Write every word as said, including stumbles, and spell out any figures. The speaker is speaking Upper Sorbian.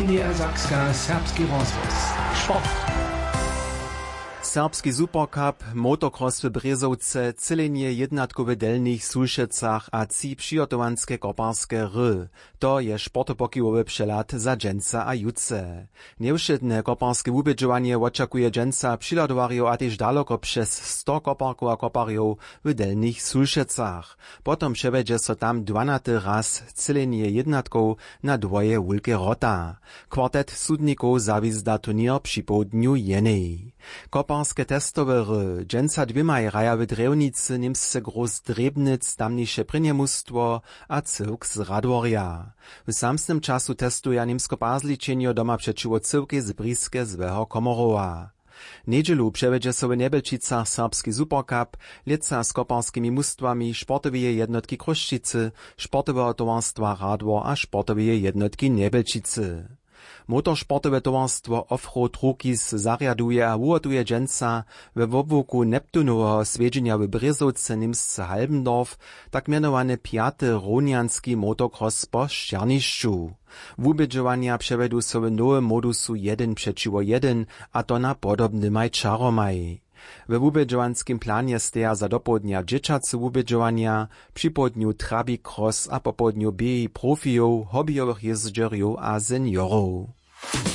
Niedersakska, serbski rozhłos. Sport. Serbski supercup, motocross w Brězowce, třělenje jědnatkow w Delnich Sulšecach a tři přihotowanske koparske hry. To je sportopokiwowy přehlad za dźensa a jutře. Njewšědne koparske wubědźowanje wočakuje dźensa přihladowarjow a tež daloko přez sto koparkow a koparjow w Delnich Sulšecach. Potom přewjedźe so tam dwanaty raz třělenje jědnatkow na dwoje wulke wrota. Kwartet sudnikow zawizda turněr připołdnju jenej. Koparske testowe hry, dźensa dwěmaj hraja w Drjewnicy němsce Groß Drjebnitz tamniše prěnje mustwo a cyłk z Radworja. W samsnym času testuja němsko-pazličenjo doma přećiwo cyłkej z Briske złeho Komorowa. Njedźelu přewjedźe so w Njebelčicach serbski supercup, lětsa z koparskimi mustwami sportoweje jednotki Chrósćicy, sportoweho towarstwa Radwor a sportoweje jednotki Njebelčicy. Motorsportowe towarstwo Offroad Rukis zarjaduje a wuhotuje dźensa we wobłuku Neptunoweho swjedźenja w Brězowce němsce Halbendorf tak mjenowany pjate rownjanski motocross po sćernišću. Wubědźowanja přewjedu so w nowym modusu jedyn přećiwo jedyn, a to na podobnymaj čaromaj. We wubědźowanskim planje steja za dopołdnja dźěćace wubědźowanja, připołdnju trabi cross a popołdnju běhi profijow, hobbyjowych jězdźerjow a seniorow.